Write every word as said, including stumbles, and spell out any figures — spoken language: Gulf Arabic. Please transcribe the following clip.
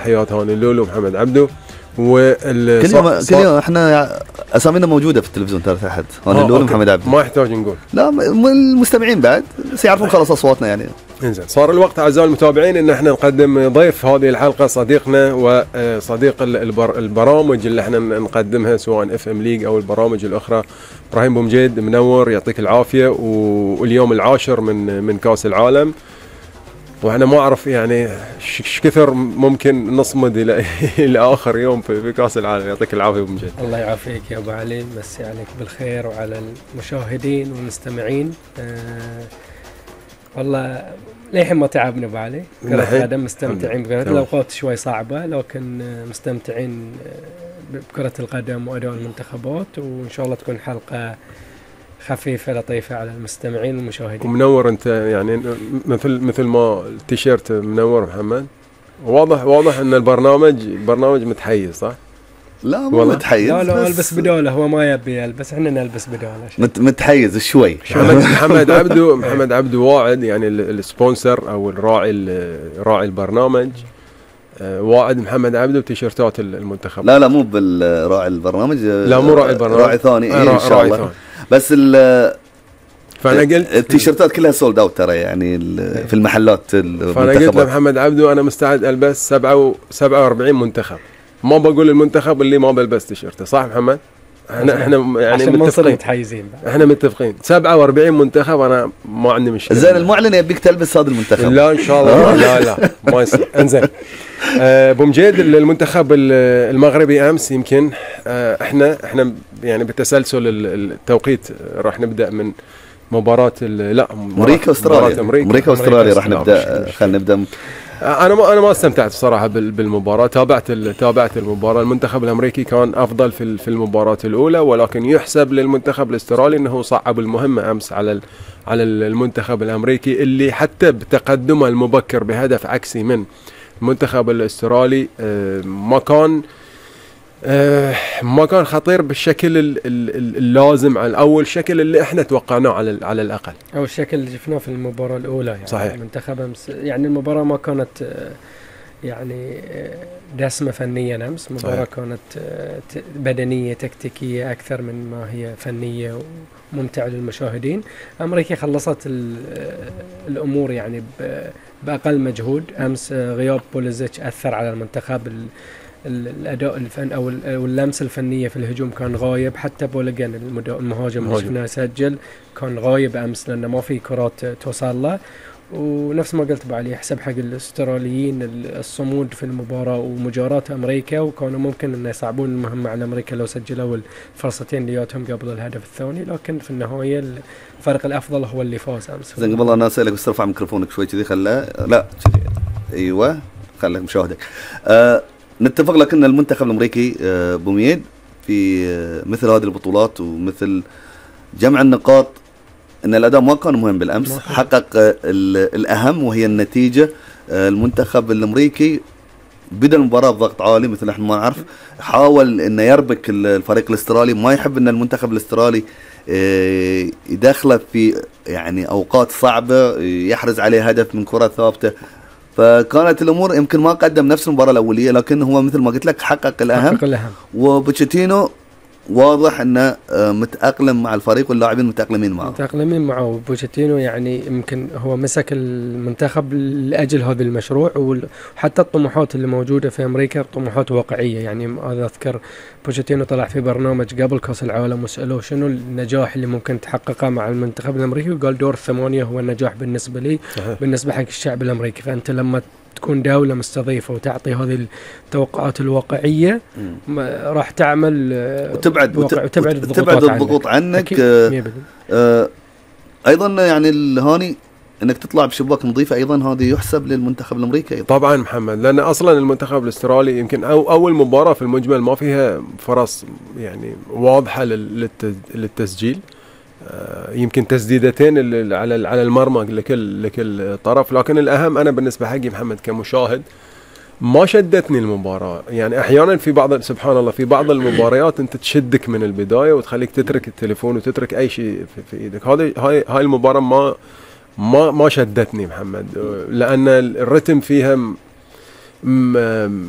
تحيات هاني اللولو محمد عبدو. وال كل يوم كل يوم احنا اسامينا موجوده في التلفزيون ترى تحت هاني اللولو محمد عبدو، ما يحتاج نقول. لا المستمعين بعد سيعرفون خلاص اصواتنا يعني. انزين صار الوقت اعزائي المتابعين ان احنا نقدم ضيف هذه الحلقه صديقنا وصديق البر البرامج اللي احنا نقدمها سواء اف ام ليج او البرامج الاخرى. ابراهيم بومجيد منور يعطيك العافيه. واليوم العاشر من من كاس العالم، واحنا ما اعرف يعني ايش كثر ممكن نصمد الى الى اخر يوم في كاس العالم. يعطيك العافيه ابو مجيد. الله يعافيك يا ابو علي، مسي عليك بالخير وعلى المشاهدين والمستمعين. أه والله للحين ما تعبنا ابو علي، كرة القدم مستمتعين بكرة الاوقات شوي صعبه، لكن مستمتعين بكرة القدم واداء المنتخبات، وان شاء الله تكون حلقه خفيفة لطيفة على المستمعين والمشاهدين. ومنور انت يعني مثل مثل ما التيشيرت منور محمد. واضح واضح ان البرنامج برنامج متحيز صح؟ لا مو متحيز، لا لا البس بداله، هو ما يبي يلبس، احنا نلبس بداله. مت متحيز شوي. محمد محمد عبدو محمد عبدو واعد يعني السبونسر او الراعي راعي البرنامج. واعد محمد عبدو بتيشيرتات المنتخب. لا لا مو بالراعي البرنامج، لا مو راعي البرنامج، راعي ثاني إيه ان شاء الله ثاني. بس ال فانا قلت التيشيرتات كلها سولد اوت ترى يعني في المحلات المنتخبات. فانا قلت لمحمد عبدو انا مستعد البس سبعة وأربعين منتخب، ما بقول المنتخب اللي ما بلبس تيشيرته صح محمد؟ احنا احنا يعني متفقين متحيزين، احنا متفقين سبعة وأربعين منتخب، انا ما عندي مشكله. زين المعلن يبيك تلبس هذا المنتخب. لا ان شاء الله لا لا ما يصير. انزين ابو مجيد المنتخب المغربي امس يمكن احنا احنا يعني بتسلسل التوقيت راح نبدا من مباراه لا امريكا واستراليا. امريكا واستراليا راح نبدا. خلينا نبدا. انا ما انا ما استمتعت بصراحه بالمباراه. تابعت تابعت المباراه. المنتخب الامريكي كان افضل في في المباراه الاولى، ولكن يحسب للمنتخب الاسترالي انه صعب المهمه امس على على المنتخب الامريكي اللي حتى بتقدمه المبكر بهدف عكسي من المنتخب الاسترالي ما كان ما كان خطير بالشكل اللازم على اول شكل اللي احنا توقعناه على على الاقل، او الشكل اللي شفناه في المباراه الاولى يعني. صحيح. المنتخب يعني المباراه ما كانت يعني دسمه فنيا امس، المباراه كانت بدنيه تكتيكيه اكثر من ما هي فنيه وممتعه للمشاهدين. امريكا خلصت الامور يعني باقل مجهود. امس غياب بوليزيتش اثر على المنتخب، الاداء الفن او اللمسه الفنيه في الهجوم كان غايب. حتى بوليجان المهاجم اللي شفناه سجل كان غايب امس لانه ما في كرات توصل له. ونفس ما قلت بعلي يحسب حق الاستراليين الصمود في المباراه ومجاراة امريكا، وكانوا ممكن ان يصعبون المهمه على امريكا لو سجلوا الفرصتين اللي جاتهم قبل الهدف الثاني، لكن في النهايه الفريق الافضل هو اللي فاز امس. زين قبل انا اسالك بس ارفع ميكروفونك شوي كذي. خله لا كذي ايوه خليك مشاهدك. أه نتفق لك ان المنتخب الامريكي أه بوميد في أه مثل هذه البطولات ومثل جمع النقاط ان الاداء ما كان مهم بالامس، حقق الاهم وهي النتيجه. المنتخب الامريكي بدا المباراه بضغط عالي مثل احنا ما نعرف، حاول انه يربك الفريق الاسترالي، ما يحب ان المنتخب الاسترالي يدخله في يعني اوقات صعبه يحرز عليه هدف من كره ثابته. فكانت الامور يمكن ما قدم نفس المباراه الاوليه، لكن هو مثل ما قلت لك حقق الاهم, حقق الأهم. وبوتشيتينو واضح انه متأقلم مع الفريق واللاعبين متأقلمين معه متأقلمين معه. بوتشيتينو يعني يمكن هو مسك المنتخب لأجل هذا المشروع، وحتى الطموحات اللي موجودة في أمريكا طموحات واقعية. يعني هذا أذكر بوتشيتينو طلع في برنامج قبل كأس العالم وسألوه شنو النجاح اللي ممكن تحققه مع المنتخب الأمريكي، وقال دور الثمانية هو النجاح بالنسبة لي بالنسبة حق الشعب الأمريكي. فأنت لما تكون دولة مستضيفة وتعطي هذه التوقعات الواقعية راح تعمل وتبعد وتبعد الضغوط, تبعد الضغوط عنك, عنك. آه آه ايضا يعني الهاني انك تطلع بشباك نظيفه ايضا هذه يحسب للمنتخب الامريكي أيضا. طبعا محمد، لان اصلا المنتخب الاسترالي يمكن أو اول مباراه في المجمل ما فيها فرص يعني واضحه للتسجيل. يمكن تسديدتين على على المرمى لكل لكل طرف، لكن الاهم انا بالنسبه حقي محمد كمشاهد ما شدتني المباراه. يعني احيانا في بعض سبحان الله في بعض المباريات انت تشدك من البدايه وتخليك تترك التليفون وتترك اي شيء في, في ايدك. هذه هاي هاي المباراه ما ما ما شدتني محمد، لان الرتم فيها م-